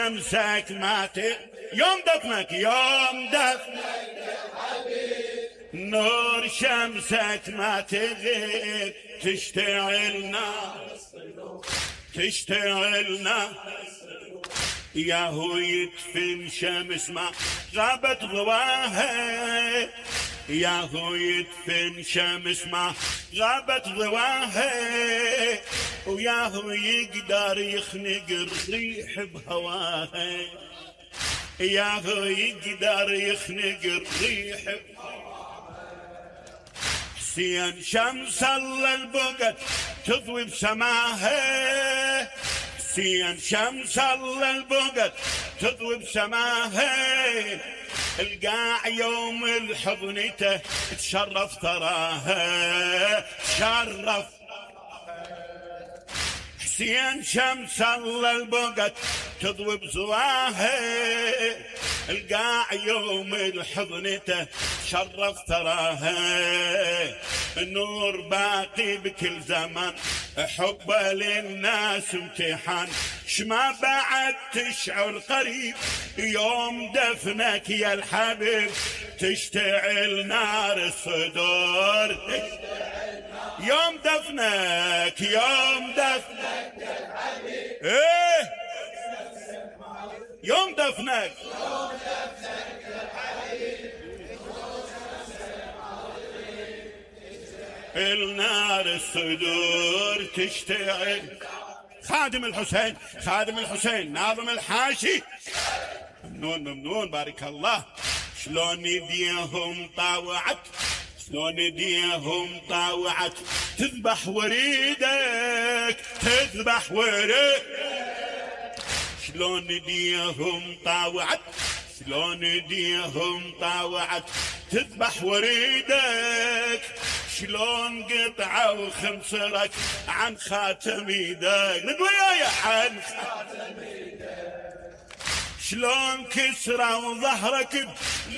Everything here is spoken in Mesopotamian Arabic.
شمسك ما يوم دفنك يوم دفنك نور شمسك ما تغيب تشتعل نار تشتعل نار ياهو يدفن شمس ما غابت ضواها ياهو يدفن شمس ما غابت ضواها وياهو يقدر يخنق الريح بهواها ياهو يقدر يخنق الريح بهواها حسين شمس الله البقت تضوي بسماها حسين شمس الله البقت تضوي بسماها القاع يوم الحضنته تشرف تراها تشرف حسين شمس الله البقت تضوي بزواها القاع يوم الحضنته شرف تراها النور باقي بكل زمان حبه للناس امتحان شما بعد تشعر قريب يوم دفنك يا الحبيب تشتعل نار الصدور يوم دفنك يوم دفنك يا الحبيب ايه يوم دفنك يا الحبيب النار الصدور تشتعل خادم الحسين خادم الحسين ناظم الحاشي ممنون ممنون بارك الله شلون يديهم طاوعت شلون يديهم طاوعت تذبح وريدك تذبح وريدك شلون يديهم طاوعت شلون يديهم طاوعت تذبح وريدك شلون قطعوا خنصرك عن خاتم ايدك نقول يا عن خاتم ايدك شلون كسروا ظهرك